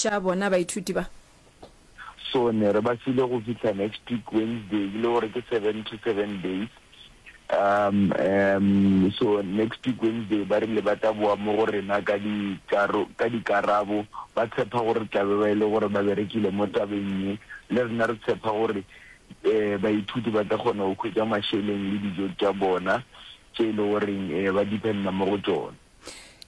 thuša bona baithuti ba? So ne re ba file go fihla next week Wednesday, e le gore ke 7 to 7 days. Um, um, so next week Wednesday ba rile ba tla boa mo go rena ka dikaro, ka dikarabo, ba tshepa gore tla be ba e le gore ba berekile mo tabeng ye. Le rena re tshepa gore um baithuti ba tla kgona go hwetša mašeleng le dijo tša bona tše e le goreng um ba dependa mo go tšona.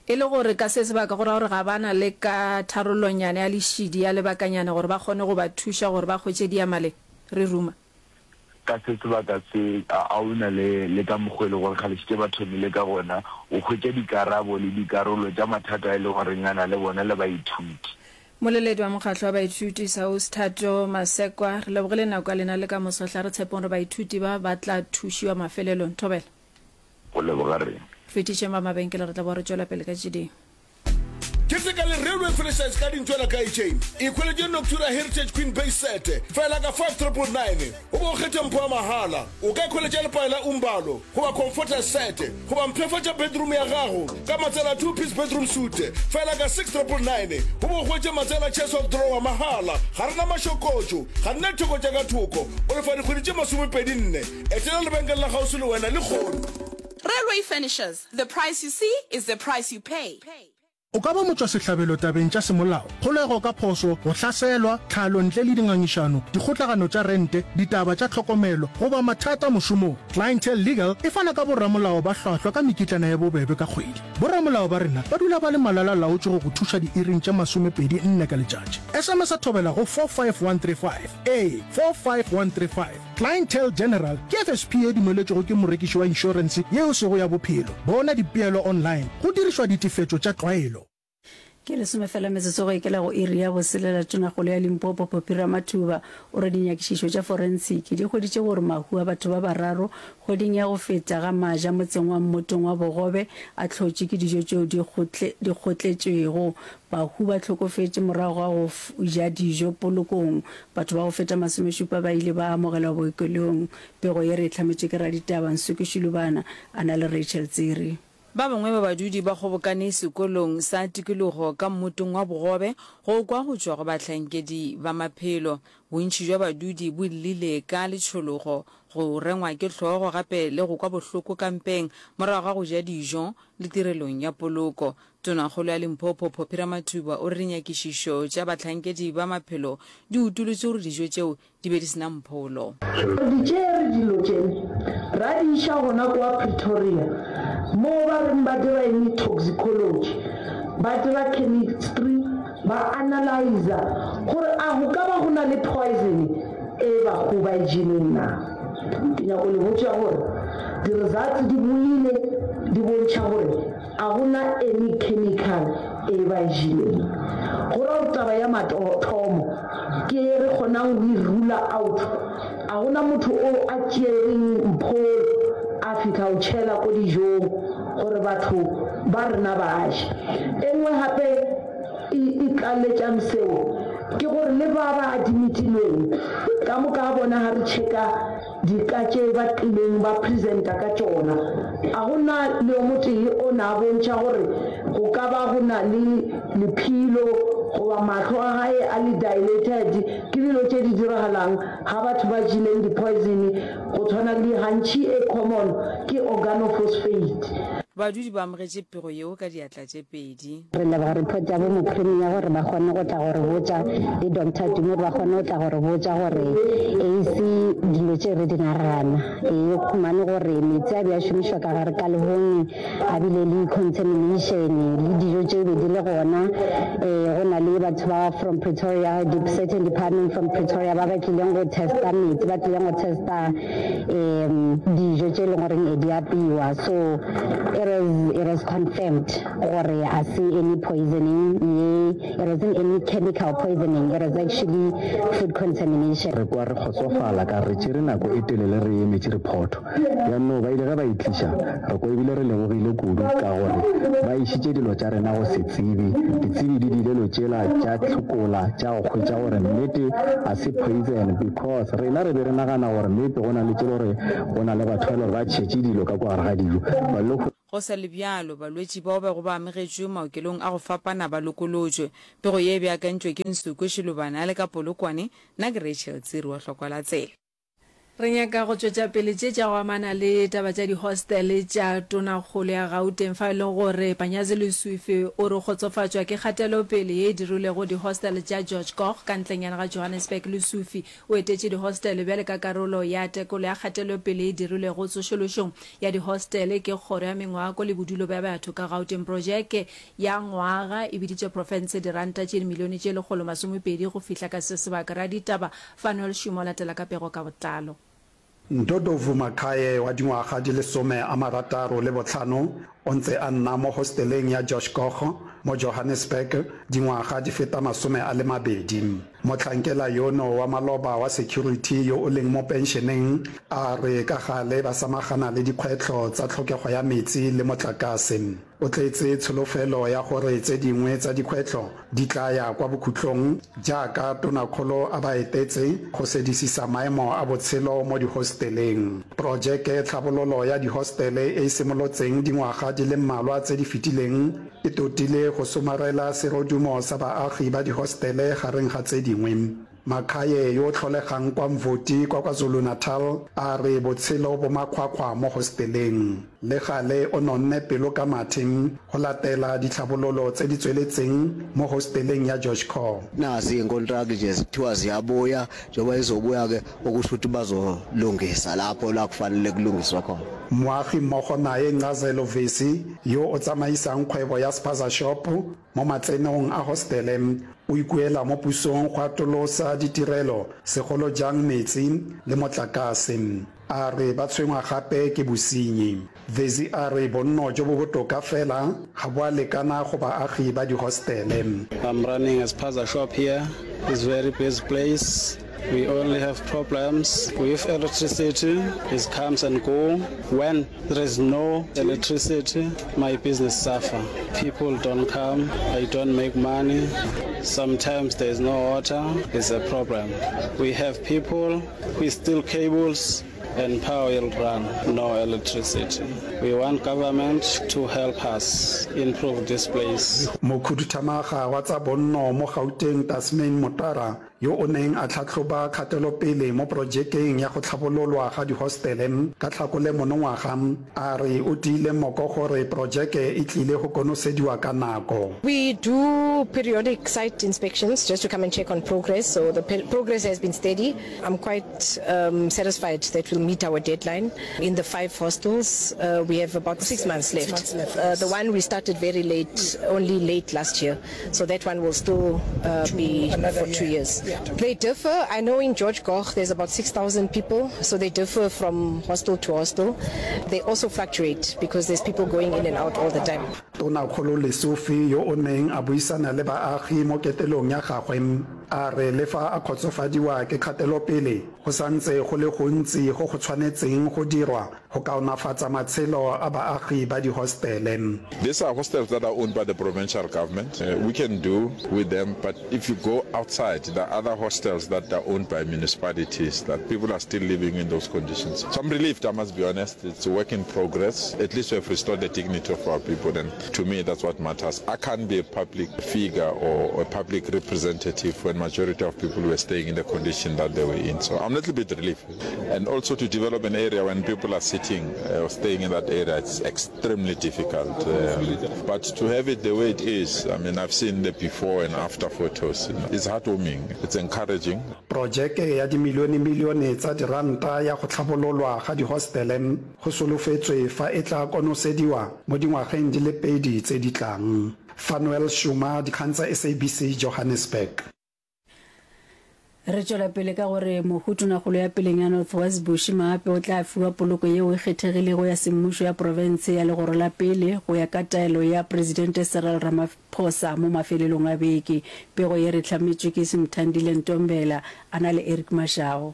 E le gore ka se sebaka go ra gore ga ba na le ka tharollonyana ya lešidi ya lebakanyana gore ba kgone go ba thuša gore ba hwetše diyamaleng? Re ruma. Ka se sebaka se, a a o na le, le ka mokgwa e le gore kgale šetše ba thomile ka gona, o hwetša dikarabo le dikarolo tša mathata a e le goreng a na le bona le baithuti. Mmoleledi wa mokgatlo wa baithuti, SAUS, Thato Masekwa, Re lebogile nako ya lena le ka moso hla re tshepeng gore baithuti ba ba tla thušiwa mafelelong. Thobela. Go leboga rena. Fetišeng ba mabenkele re tla boa re tšwela pele ka tše dingwe. Ke se ka le Railway Furnitures ka dintšwela ka chain. Ikhweletše Noctura Heritage Queen Base Set fela ka 5999 o bo o kgethe mpho ya mahala. O ka ikhweletša lepae la Umbalo goba Comforter Set goba mpshafatša bedroom ya gago ka matsela two piece bedroom suite fela ka 6999 o bo o hwetše matsela chest of drawer mahala. Ga re na mašokotšo, ga re na ditheko tša ka thoko. O lefa dikgwedi tše masomepedi nne. Etela lebenkele la kgauswi le wena lehono. Railway Furnitures, the price you see is the price you pay. O ka ba motšwasehlabelo tabeng tša semolao, kgolego ka phošo, go hlaselwa, tlhalo ntle le dingangišano, dikgotlagano tša rente, ditaba tša tlhokomelo, goba mathata mošomong. Clientele Legal e fana ka boramolao ba hlwahlwa ka mekitlana ya bobebe ka kgwedi. Boramolao ba rena ba dula ba le malala-laotšwe go go thuša diiring tše masomepedi nne ka letšatši. SMS-a Thobela go 45135. Ee, 45135. Clientele General ke FSP ye dumeletšwego ke morekiši wa inšorense ye e sego ya bophelo. Bona dipeelo online go dirišwa ditefetšo tša tlwaelo. Ke lesome fela metsotso go ikela go iri ya boselela Tonakgolo ya Limpopo Phophi Ramathuba o re dinyakišišo tša forensiki di hweditše gore mahu a batho ba bararo kgweding ya go feta ga Maja motseng wa Mmotong wa Bogobe a hlotšwe ke dijo tšeo di kgotletšwego. Bahu ba hlokofetše morago ga go ja dijo polokong. Batho ba go feta masomešupa ba ile ba amogelwa bookelong. Pego ye re e hlametšwe ke raditaba Nsuki Shilubana a na le Rachel Tsiri. Ba bangwe ba badudi ba kgobokane sekolong sa tikologo ka mmotong wa bogobe go kwa go tšwa go bahlankedi ba maphelo. Bontši bja badudi bo llile ka letšhologo, go rengwa ke hlogo gape le go kwa bohloko ka mpeng morago ga go ja dijo le tirelong ya poloko. Tonakgolo ya Limpopo, Phophi Ramathuba o re dinyakišišo tša bahlankedi ba maphelo di utolotše gore dijo tšeo di be di se na mpholo. Re di tšere dilo tše ra di iša gona kwa Pretoria moo ba reng ba dira eng toxicology, ba dira chemistry, ba analyzer gore a go ka ba go na le poison e bahu ba e jeleng na. Ke nyako le botša gore di-results di boile di bontšha gore A go na any chemical e ba e jeleng. Go ra gore taba ya mathomo ke ye re kgonang go e rula out. A go na motho o a tšereng mpholo a fihla o tšhela ko dijong gore batho ba rena ba je. E nngwe gape e e tlaletšang seo ke gore le ba ba adimitilweng ka moka ga bona ga re checka Dika tše ba tlileng ba presenta ka tšona, a go na le yo motee o na bontšha gore go ka ba go na le lephilo goba mahlo a gae a le dilated? Ke dilo tše di diragalang ga batho ba jeleng di poison go tshwana le gantši e common ke organophosphate. Badudi ba amogetše pego yeo ka diatla tše pedi. Re leboga report ya bo mopremier gore ba kgone go tla go re botša le Doctor Tumi gore ba kgone go tla go re botša gore e se dilo tše re di nagana. E khumane gore metsi a be a šomišwa ka gare ka lehong a bile le contamination le dijo tše be di le gona. E go na le batho ba from Pretoria, certain department from Pretoria ba ba tlileng go testa metsi, ba tlileng go testa um dijo tše e leng goreng e di apeiwa. So it is, it is confirmed. Gore a se any poisoning ye, it wasn't any chemical poisoning, it was actually food contamination. Re kwa re kgotsofala ka re tšere nako e telele re emetše rephoto. Bjannoo ba ile ge ba e tliša, re kwa ebile re lebogile kudu ka gore ba išitše dilo tša rena go setsebi. Ditsebi di dilelo tšela tša hlokola tša go hwetša gore nnete a se poison because rena re be re nagana gore maybe go na le tše le gore go na le batho ba e le gore ba tšhetše dilo ka kwa gare ga dijo ba lo. Go sa le bjalo, balwetši bao bego ba amogetšwe maokelong a go fapana ba lokolotšwe. Pego ye e beakantšwe ke Nsukwe Shilubane a le ka Polokwane, nna ke Rachel Tsiri wa Hlokwa la Tsela. Re nyaka go tšwetša pele tše tša go amana le taba tša dihostele tša Tonakgolo ya Gauteng fao e lego gore Panyazi Lesufi o re kgotsofatšwa ke kgatelopele ye e dirilwego dihostele tša George Goch ka ntlenyana ga Johannesburg. Lesufi o etetše dihostele bjale ka karolo ya tekolo ya kgatelopele ye e dirilwego tsošološong ya dihostele ke Kgoro ya Mengwako le Bodulo bja Batho ka Gauteng. Projeke ya ngwaga e biditše profense diranta tše dimilione tše 120 go fihla ka se sebaka. Raditaba Fanuel Šumo o latela ka pego ka botlalo. Ndodovu Makhaye wa dingwaga di le 65 o ntse a nna mo hosteleng ya Josh Koch mo Johannesburg dingwaga di feta 20. Mohlankela yono wa maloba wa security yo o leng mo penšeneng a re ka gale ba samagana le dikgwetlho tsa tlhokego ya metsi le motlakase. O tletse tsholofelo ya gore tse dingwe tsa dikgwetlho di tla ya kwa bokhutlong jaaka Tonakgolo a ba etetse go sedisisa maemo a botshelo mo dihosteleng. Porojeke tlhabololo ya dihostele e e simolotseng dingwaga di le mmalwa tse di fetileng e totile go somarela serodumo sa baagi ba dihostele gareng ga tse dingwe. Makhaye yo o tlholegang kwa Mvoti kwa KwaZulu-Natal a re botshelo bo makgwakgwa mo hosteleng. Le gale o nonne pelo ka mathe go latela ditlhabololo tse di tsweletseng mo hosteleng ya George Core. Nazi iy'nkontraki nje kuthiwa ziyabuya, njengoba zizobuya-ke okusho ukuthi bazolungisa lapho la kufanele kulungiswe khona. Moagi mmogo naye Ncazelo Vesi yo o tsamaisang kgwebo ya Spaza Shop Mo matsenong a hostele, o ikuela mo pusong go atolosa ditirelo, segolo jang metsi le motlakase. A re ba tshwengwa gape ke bosenyi. Vezi a re bonno jo bo botoka fela ga bo a lekana go baagi ba dihostele. I'm running a spaza shop here, it's very busy place, we only have problems with electricity, it comes and go, when There is no electricity, my business suffer. People don't come, I don't make money. Sometimes there is no water, it's a problem. We have people who steal cables and power will run, no electricity. We want government to help us improve this place. Mokhuduthamaga wa tsa bonno mo Gauteng Tasmin Motara yo o neng a tlhahloba kgatelopele mo projekeng ya go tlhabololwa ga dihostele ka Tlhakole monongwaga, a re o tiile moko gore projeke e tlile go konosediwa ka nako. We do periodic site inspections just to come and check on progress, so the progress has been steady. I'm quite um, satisfied that we'll meet our deadline. In the five hostels, uh, we have about six months left. Six months left uh, the one we started very late, only late last year. So that one will still uh, be for two years. Yeah. They differ. I know in George Goch there's about 6,000 people, so they differ from hostel to hostel. They also fluctuate because there's people going in and out all the time. Tonakgolo Lesufi yo o neng a buisana le baagi mo ketelong ya gagwe a re le fa a kgotsofadiwa ke kgatelopele go santse go le gontsi go go tshwanetseng go dirwa go kaonafatsa matshelo a baagi ba dihostele. These are hostels that are owned by the provincial government. Uh, we can do with them, but if you go outside, there are other hostels that are owned by municipalities that people are still living in those conditions. So I'm relieved, I must be honest. It's a work in progress. At least we have restored the dignity of our people, and to me, that's what matters. I can't be a public figure or a public representative when majority of people were staying in the condition that they were in. So I'm a little bit relieved. And also to develop an area when people are sitting uh, or staying in that area, it's extremely difficult. Um, but to have it the way it is, I mean, I've seen the before and after photos. You know, it's heartwarming, it's encouraging. Projeke ya dimilionemilione tsa diranta ya go tlhabololwa ga dihostele go solofetswe fa e tla konosediwa mo dingwageng di le pedi tse di tlang. Fanuel Shuma, Dikgang tsa SABC, Johannesburg. Re tšwela pele ka gore mohu Tonakgolo ya peleng ya North West Bushy Maape o tla fiwa poloko yeo e kgethegilego ya semmušo ya profense ya legoro la pele go ya ka taelo ya Presidente Cyril Ramaphosa mo mafelelong a beke. Pego ye re hlametšwe ke Simthandile Ntombela a na le Eric Mashago.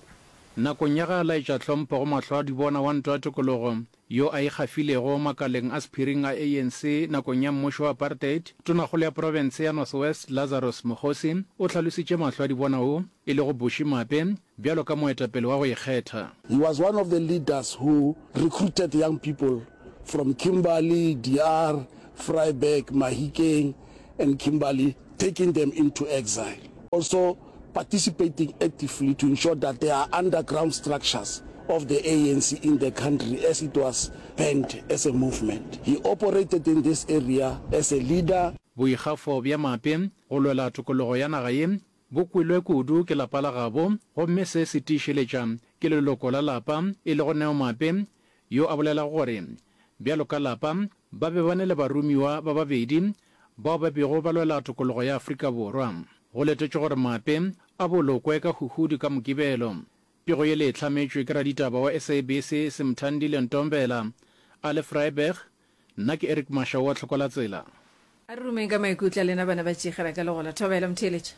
Nakong ya ge a laetša tlhompho go mahlwaadibona wa ntwa ya tokologo yo a ikgafilego makaleng a sephiring a ANC nakong ya mmušo wa apartheid, Tonakgolo ya profense ya North West Lazarus Mokgosi o hlalositše mahlwaadibona wo e lego Bushy Maape bjalo ka moetapele wa go ikgetha. He was one of the leaders who recruited young people. from Kimberley, De Aar, Vryburg, Mahikeng and Kimberley, taking them into exile. Also participating actively to ensure that there are underground structures of the ANC in the country as it was banned as a movement. He operated in this area as a leader. Boikgafo bja Mape go lwela tokologo ya naga ye bo kwelwe kudu ke lapa la gabo gomme se se tiišeletša ke leloko la lapa e lego Neo Mape yo a bolelago gore bjalo ka lapa ba be ba ne le baromiwa ba babedi bao ba bego ba lwela tokologo ya Afrika Borwa. Go letetšwe gore Mape a bolokwe ka Huhudi ka Mokibelo. Pego ye le e hlametšwe ke raditaba wa SABC Simthandile Ntombela a le Vryburg. Nna ke Eric Mashau wa Tlhokolatsela. A re rumeng ka maikutlo a lena bana ba Tšigela ka legola. Thobela motheeletši.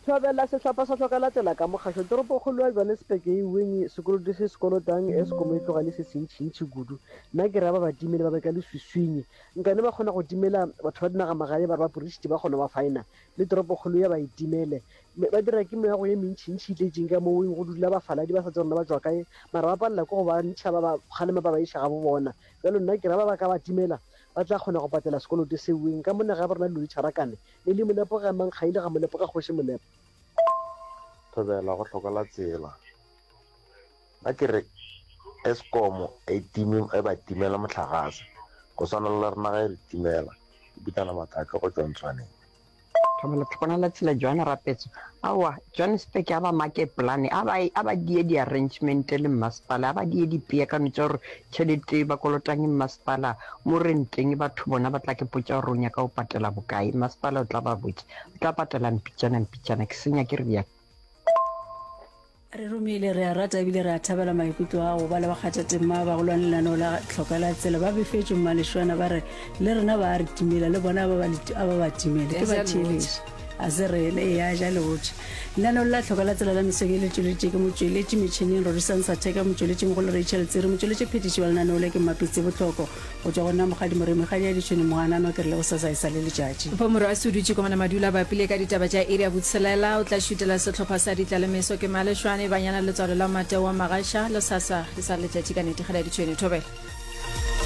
Thobela sehlopha sa Hlokalatsela ka mokgašo toropokgolo ya Johannesburg e weng sekoloto se se kolotang Eskom e tloga e le se sentšintši kudu. Nna ke ra ba ba timele ba be ka leswiswing. Nkane ba kgona go timela batho ba dinagamagae ba re ba porisiti ba kgona ba faena le toropokgolo ya ba e timele. Ba dira ke meago ye mentšintši e tletšeng ka mo weng go dula bafaladi ba sa tsebe gore na ba tšwa kae mara ba palela ke go ba ntšha ba ba kgalema ba ba iša gabo bona. Bjalo nna ke ra ba ba ka ba timela ba tla kgona go patela sekoloto se weng ka mona ga ba rena dilo di tšharakane. Le le Molepo ga mang ga ile ga Molepo ga kgoši Molepo. Thobela go hlokola tsela. Nna ke re Eskom e time e ba timela mohlagase go swana le rena ge e re timela. Ke Pitana Mathaka go tšwa Ntswaneng. Thobela tlhokomela tsela Johan Rapetso. Aowa Johannesburg a ba make plan a ba a ba die di arrangement le mmasepala a ba die dipeakano tša gore tšhelete e ba kolotang mmasepala mo renteng batho bona ba tla ke potša gore o nyaka go patela bokae mmasepala o tla ba botša o tla patela mpitšana mpitšana ke senya ke re bjang. Re romile, re a rata ebile re a thabela maikutlo a go ba le bakgathatema ba bagolwane lenaneo la Tlhoka la Tsela. Ba befetšwe Mmalešwana ba re le rena ba a re timela, le bona a ba a ba ba timele. Ke ba theeletše. A se rene, ee a ja leotše. Lenaneo la Tlhoka la Tsela la mesong e le tšweleditše ke motšweletši metšhineng Rorisang Satheka, motšweletši mogolo Rachel Tsiri, motšweletši phethiši wa lenaneo le ke Mmapitsi Bohloko. Go tšwa go nna Mokgadi Moremi, Kgadi ya Ditšhwene Mohananwa, ke re le gosasa e sa le letšatši. Mpho Morwasi o dutše komana madula a bapile ka ditaba tša iri ya botshelela. O tla šutela sehlopha sa Ditlalemeso ke Malešwane, Banyana Letswalo la Mateo wa Magasha, le sasa e sa le letšatši ka nete. Kgadi ya Ditšhwene, thobela.